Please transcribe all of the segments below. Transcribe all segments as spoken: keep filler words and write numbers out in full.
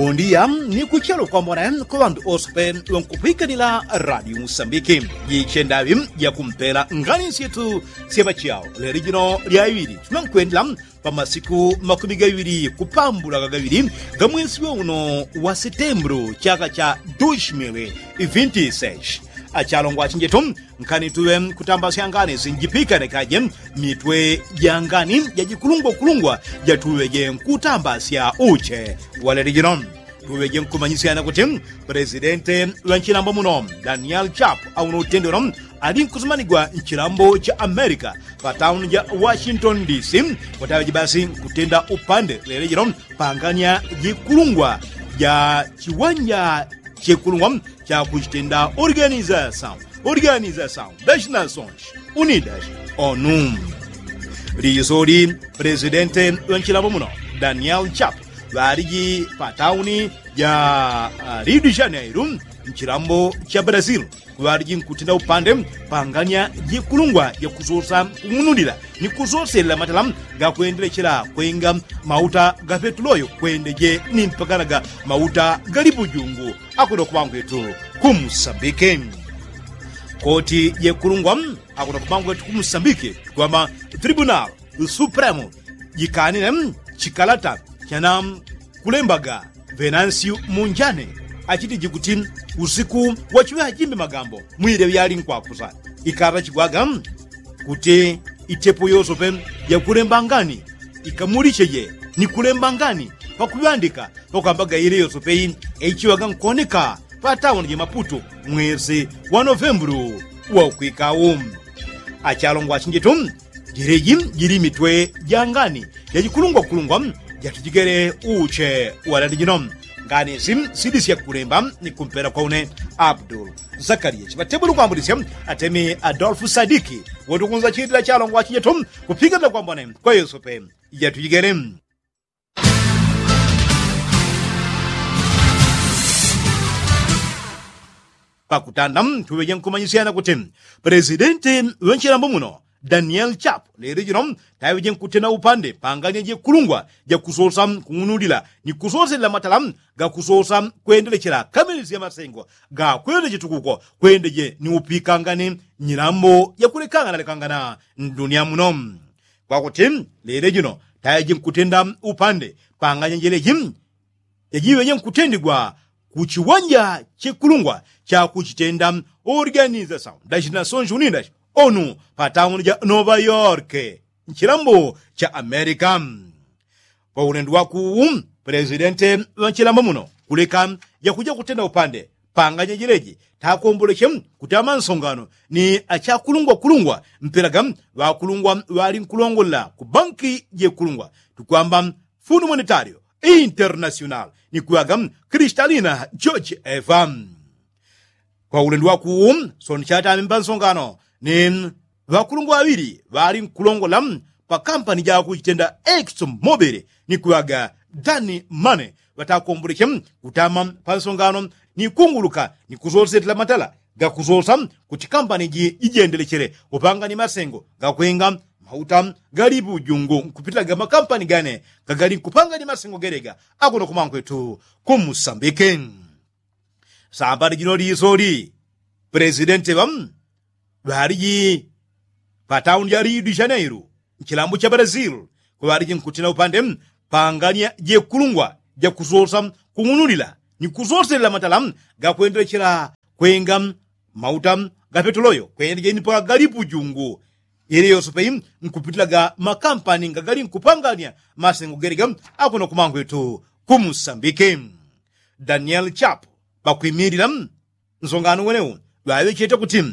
Undiya ni kuchelo kwambona kwa ŵandu ose pe ŵankupikanila radio musambiki. Jichendaŵi jakumpela ngani syetu syeŵachao leli jino lya iŵili tunankwendela pa masiku makumi gaŵili kupambula gagaŵili ga mwesi wa uno wa setembulu chaka cha dushimili vinti seshi. Achalongwa achinjetu, nkani tuŵe nkutambasya ngani sinjipikanikaje mitwe ja ngani jajikulungwakulungwa jatuŵeje nkutambasya uche wa leli jino. Tuŵeje nkumanyisyana kuti pulesidente ŵa nchilambo muno daniel chap auno utendero ali nkusumanigwa nchilambo cha amerika pa tauni ja washington dc. Kutaŵeje basi nkutenda upande leli jino panganya jikulungwa ja chiwanja chekulungwa cha kuchitenda organizasaun organizasaun das nações unidas onu. Lisoli pulesidente ŵa nchilambo muno daniel chap ŵaliji pa tauni ja rio de janeiro nchilambo cha brasil. Kuŵaliji nkutenda upande panganya jikulungwa jakusosa kung'unulila ni kusoselela matala gakwendelechela kwenga mauta ga petuloyo kwendeje ni mpakanaga mauta gali pujungu. Akuno kuŵangwetu kumusambike koti jekulungwa. Akuno kuŵangwetu kumusambike kwamba tribunal supremo jikanile chikalata chana kulembaga venansiu munjane achitiji kuti usiku wachiŵe achimbe magambo mwile ŵyali nkwakusa ikata chigwaga kuti itepo yosope yakulemba ngani ikamulicheje ni kulemba ngani pakuŵandika pakwambaga ile yosope ichiŵaga nkoneka pa tauni ja maputu mwesi wa novembulu. Wakwikawu achalongwa achinjetu jili ji jili mitwe ja ngani jajikulungwakulungwa jatujigele uche walali jino. Ngani isi sidisya kulemba ni kumpela kwa une abdul zakariya chiŵatebuli kwambulisya atemi adolfu sadiki wotukunza chitila chalongwa achinjetu kupigatila kwambone kwa yosope jatujigele. Pakutanda tuŵeje nkumanyisyana kuti pulesidenti ŵa nchilambo muno daniel chapu lelo jino taŵeje nkutena upande panganya jekulungwa jakusosa kung'unulila ni kusoselela matala gakusosa kwendelechela kamilisya masengo gakweleje tukuko kwendeje ni upikangani nyilambo yakulekanganalekangana ndunia muno. Kwakuti lelo jino taŵeje nkutenda upande panganya jeleji jajiŵeje nkutendigwa ku chiwanja chekulungwa chakuchitenda organizasaun das nações unidas onu pa tauni ja nova yorke nchilambo cha amerika. Paulendo wakuwu pulesidente ŵa nchilambo muno kuleka jakuja kutenda upande panganya jeleji takomboleche kuti amansongano ni achakulungwakulungwa mpelaga ŵakulungwa ŵali nkulongolela ku banki jekulungwa tukwamba fundu monetario internasional ni kuŵaga kristalina george eva. Kwa ulendo wakuwu soni chatame mpansongano ni ŵakulungwa ŵaŵili ŵali nkulongola pa kampani jakuchitenda exo mobile ni kuŵaga dani mane ŵatakomboleche kutama pansongano ni kunguluka ni kusosetela matala gakusosa kuti kampani ji jijendelechele kupanga ni masengo gakwenga mauta gali pujungu nkupitila ga makampani gane gagali nkupanga ni masengo gelega. Akuno kumankwetu kumusambike sambali jino lisoli pulesidenti ŵa ŵaliji pa tauni ja rio de janeiro nchilambo cha brasil kwe ŵaliji nkutina upande panganya jekulungwa jakusosa kung'unulila ni kusoselela matala gakwendelechela kwenga mauta ga petoloyo kwendeje ni paka gali pujungu. Ili yosope nkupitilaga makampani gagali nkupanganya masengo gelega akuno kumankwetu kumusambike. Daniel chapu ŵakwimilila nsongano wenewu ŵaŵechete kuti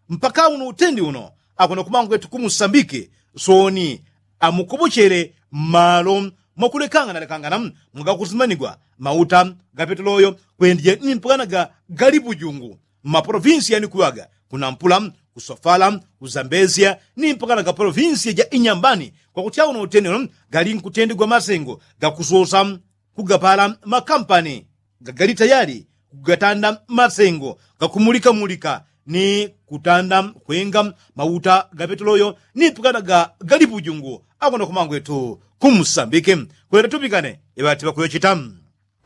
mpaka uno utendi uno akuno kumangwetu kumusambike soni amukopochele mmalo mwakulekanganalekangana mwagakusimanigwa mauta ga petoloyo kwendije ni mpakanaga gali pujungu mmapolovinsiya ni kuŵaga kunampula kusofala kuzambezya ni mpakanaga polovinsiya ja inyambani kwakutya uno utendi uno gali nkutendigwa masengo gakusosa kugapala makampani gagali tayali kugatanda masengo gakumulika mulika ni kutanda kwenga mauta ga petoloyo ni mpakanaga gali pujungu. Akuno kumangwetu kumusambike kwenda tupikane iŵati ŵakuyochita.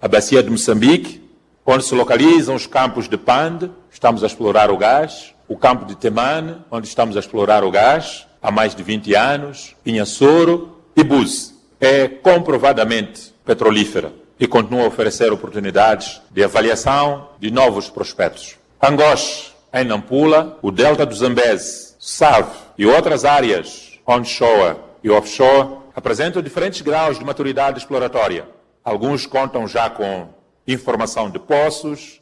A bacia de moçambique, onde se localizam os campos de pande, estamos a explorar o gás, o campo de temane, onde estamos a explorar o gás há mais de vinte anos, inhassoro e buzi, é comprovadamente petrolífera e continua a oferecer oportunidades de avaliação de novos prospectos. Angoche, em nampula, o delta do zambeze, save e outras áreas onshore e offshore apresentam diferentes graus de maturidade exploratória. Alguns contam já com informação de poços,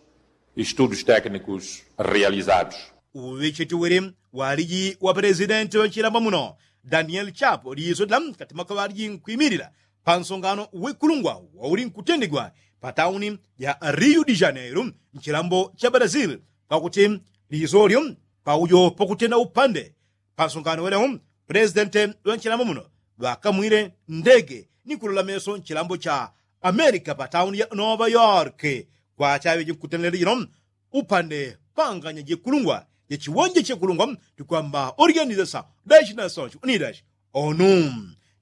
estudos técnicos realizados. Uŵichiti wili waliji wa pelesidenti wa nchilamba muno, danieli chapo liso dila katimaka waliji nkwimilila pa nsongano wikulungwa wauli nkutendigwa pa tauni ya rio de janeiro, nchilambo cha brazil, pakuti liso lyo paujo pakutenda upande pa nsongano welewo, pelesidenti wa nchilamba muno ŵakamwile ndege ni kulola meso nchilambo cha amerika pa tauni ya nova york. Kwachaŵe jinkutendelelejelo upande panganya jekulungwa jechiwonje chekulungwa, tikwamba organizesa dashi na sochi unidashi onu.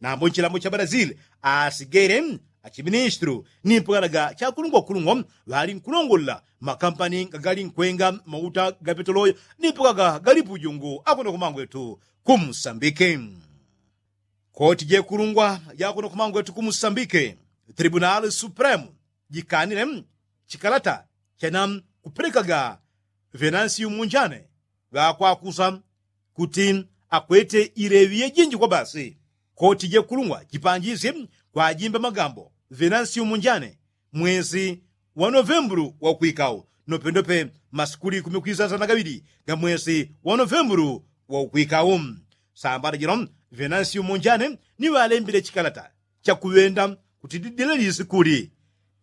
Nambo nchilambo cha brazil asigele achiministru ni mpwanaga chakulungwakulungwa ŵali nkulongolela makampani gagali nkwenga mauta ga petoloyo ni mpwanaga gali pujungu akuno kumangwetu kumusambike. Koti jekulungwa jakuno kumangwetu kumusambike, tribunali supremu jikanile chikalata chena kupelekaga venansiu munjane ŵakwakusa kuti akwete ileŵi yejinji kwa basi. Koti jekulungwa jipanjisye kwajimba magambo venansiu munjane mwesi wa novembulu wakwikau nopendope masikuli kumi kwisasa na gaŵili ga mwesi wa novembulu wakwikau. Sambala jilo venansiu munjane ni ŵalembile chikalata chakuŵenda kuti didile lisikuli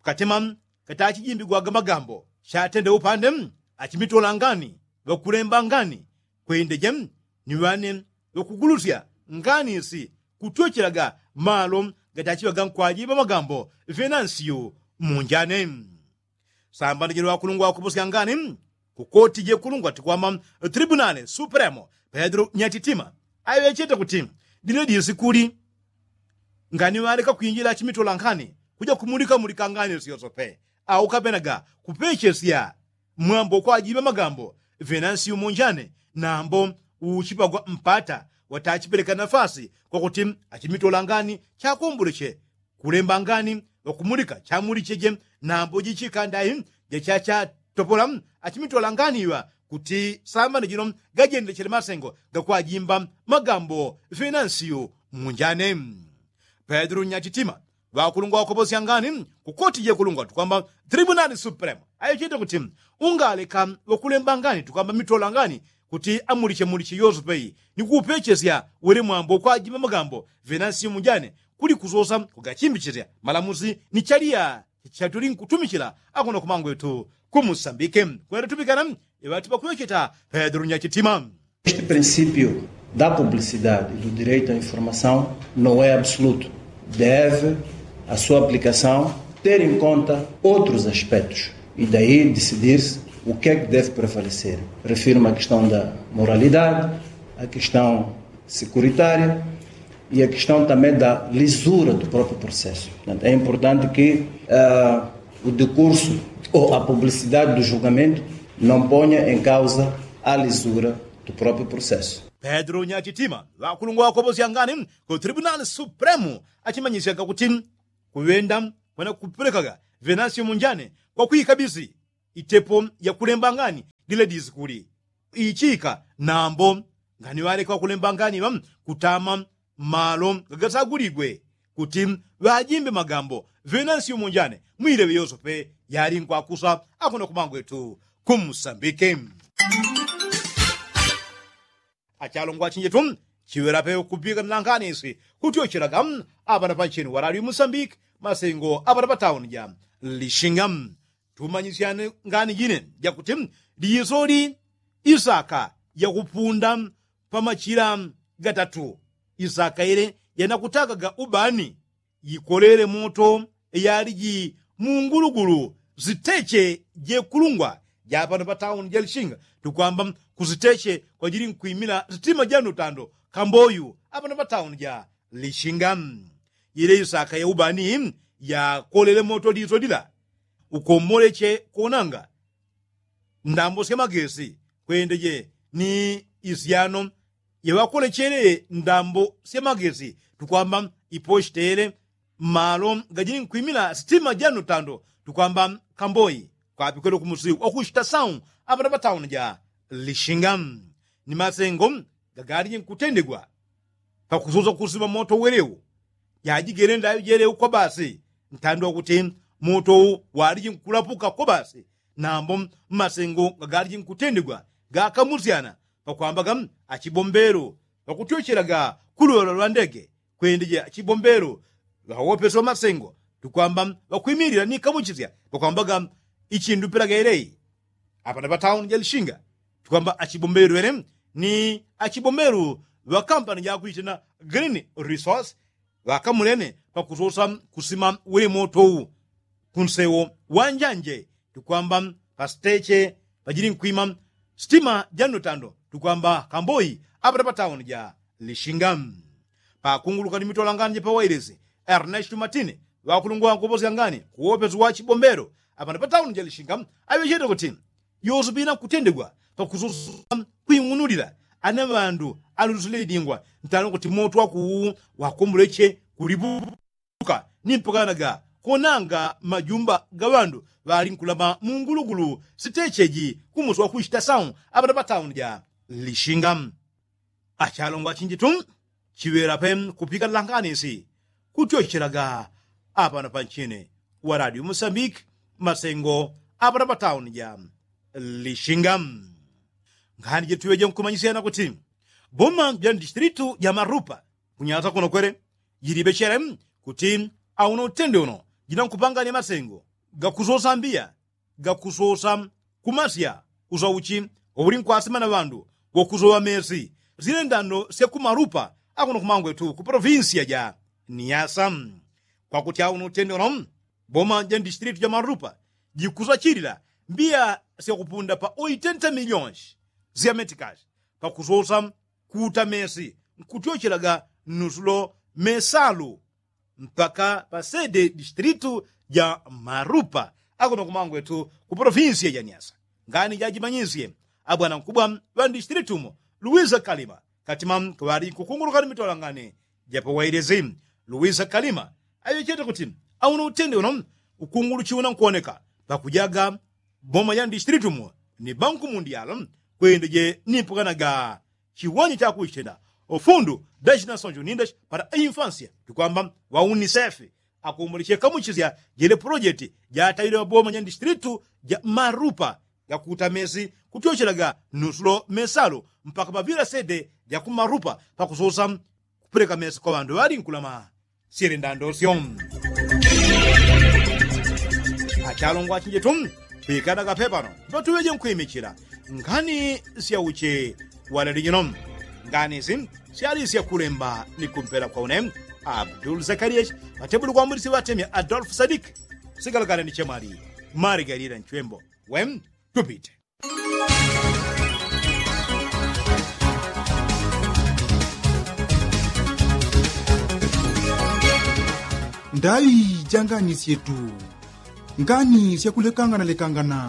katima katachijimbigwaga magambo chatende upande achimitolangani ŵakulembangani kwendeje ni ŵane ŵakugulusya nganisi kutyochelaga malo gatachiŵaga nkwajimba magambo venansiu munjane. Sambano jino ŵakulungwa ŵakuposyangani kukoti jekulungwa tikwamba tribunale supremo pedro nyatitima aŵechete kuti dile disikuli ngani ŵaleka kwinjila chimitolangani kuja kumulika mulika ngani siyosope au kapenaga kupechesya mwambo kwajiŵa magambo venansiu munjane nambo uchipagwa mpata watachipeleka nafasi kwakuti achimitolangani chakumbuleche kulembangani ŵakumulika chamulicheje. Nambo jichikandai jachachatopola achimitolangani iŵa kuti sambano jino gajendechele masengo gakwajimba magambo venansiu munjane. Pedro nyachitima ŵakulungwa ŵakoposyangani kukoti jekulungwa tukwamba tribunali supremo ayochete kuti ungaleka ŵakulembangani tukwamba mitolangani kuti amuliche muliche yosope iyi ni kupechesya wele mwambo kwajimba magambo venansiu munjane kuli kusosa kugachimbichesya malamusi ni chaliya chatuli nkutumichila akuno kumangwetu kumusambike. Kwenda tupikana iŵati ŵakuŵecheta pedro nyachitima. Este princípio da publicidade e do direito à informação não é absoluto. Deve a sua aplicação ter em conta outros aspectos e daí decidir-se o que é que deve prevalecer. Refiro-me à questão da moralidade, à questão securitária e a questão também da lisura do próprio processo. Portanto, é importante que o decurso ou a publicidade do julgamento não ponha em causa a lisura do próprio processo. Pedro nyatitima ŵakulungwa ŵakoposyangani ku tribunali supremu achimanyisyaga kuti kuŵenda kwena kupelekaga venansiu munjane kwakwika bisi itepo yakulembangani dile disikuli ichika nambo ngani ŵaleka ŵakulembangani ŵa kutama malo gagasaguligwe kuti ŵajimbe magambo venansiu munjane mwileŵe yosope yali nkwakusa akuno kumangwetu kumusambike. Achalongwa chinjetu chiŵelape kupika nlanganisi kutyochelaga apana pancheni walali musambike masengo apana patauni ja lishinga. Tumanyisyane ngani jine jakuti lisoli isaka yakupunda pamachila gatatu isaka ile yanakutakaga ubani yikolele moto yaliji mungulugulu siteche jekulungwa japano patauni ja lishinga tukwamba kusiteche kwajili nkwimila sitima ja nutando kamboyu apano patauni ja lishinga. Ile isaka ya ubani yakolele moto liso lila ukomoleche konanga ndambo sya magesi kwendeje ni isyano yaŵakolechele ndambo sya magesi tukwamba iposhitele malo gajili nkwimila sitima jano tando tukwamba kamboi kwapikwele kumusi wakushita sau apata patauni ja lishinga ni masengo gagaliji nkutendegwa pakususa kusima moto welewu jajigele ndayo jelewu kwa basi ntando wakuti moto wu waliji nkulapuka kwa basi nambo mmasengo gagaliji nkutendegwa gakamusyana pakwambaga achibombelo ŵakutyochelaga ku luŵelo lwa ndege kwendeje achibombelo ŵawopeswa masengo tukwamba ŵakwimilila ni kamuchisya pakwambaga ichindupilaga eleyi apa na patauni ja lishinga tukwamba achibombelo ŵene ni achibombelo ŵa kampani jakuchitena green resource ŵakamulene pakusosa kusima wili moto wu kunsewo wa njanje tukwamba pa siteche pajili nkwima sitima ja nnotando tukwamba kamboi apata pa tauni ja lishinga pakunguluka ni mitolangani ja pawailesi ernesto matine ŵakulungwa nkoposi yangani kuwopeso wa chibombelo apana pa tauni ja lishinga aŵechete kuti yosupina kutendegwa pakusosa kwing'unulila ana ŵandu alusule idingwa ntano kuti moto wakuwu wakomboleche kulipuka ni mpakanaga konanga majumba ga ŵandu ŵali nkulama mu ngulugulu sitecheji kumusi wa kuchita sau apana pa tauni ja lishinga achalongwa chinji tu chiŵela pe kupika langanisi kutyochelaga apana pa nchini wa radio musambiki masengo apana pa tauni ja lishinga nkhani jetuŵeje nkumanyisyana kuti boma ja ndistilitu ja marupa kunyasa kuno kwele jilibechele kuti auno utende uno jinankupangania masengo gakusosa mbiya gakusosa kumasya usauchi wauli nkwasima na ŵandu wakusoŵa mesi silendano sya kumarupa akuno kumangwetu ku polovinsiya ja niyasa kwakuti auno utende uno boma ja ndistilitu ja marupa jikusachilila mbiya syakupunda pa oitenta miliyonsi sya metikasi pakusosa kuuta mesi nkutyochelaga nusulo mesalu mpaka pa sede distilitu ja marupa akuno kumangwetu ku polovinsiya ja nyasa ngani jajimanyisye abwanankubwa ŵa ndistilitumo luwisa kalima katima kaŵali nkukunguluka ni mitolangani ja pawailesi luwisa kalima aŵechete kuti auno utende uno ukunguluchi unankuoneka pakujaga boma ja ndistilitumo ni banku mundialo kwendeje ni mpakanaga chiwani chakuchitenda ofundu dachina sonjo nindachi para infansia tukwamba ŵa unisefi akumbuliche kamuchisya jele pulojeti jatawile maboma ja ndistilitu ja marupa gakuta mesi kutyochelaga nusulo mesalu mpaka paŵila sede ja kumarupa pakusosa kupeleka mesi kwa ŵandu ŵali nkulama syele ndandosyo achalongwa achinjetu pikana kape pano patuŵeje nkwimichila nkhani syauche walalinyino nkhani isi syali syakulemba ni kumpela kwa une abdul zakariya patebulu kwambulisi ŵatemya adolfu sadiki sikalakana ni chemwali maligalila nchwembo we tupite ndaŵi janganisyetu ngani syakulekangana lekangana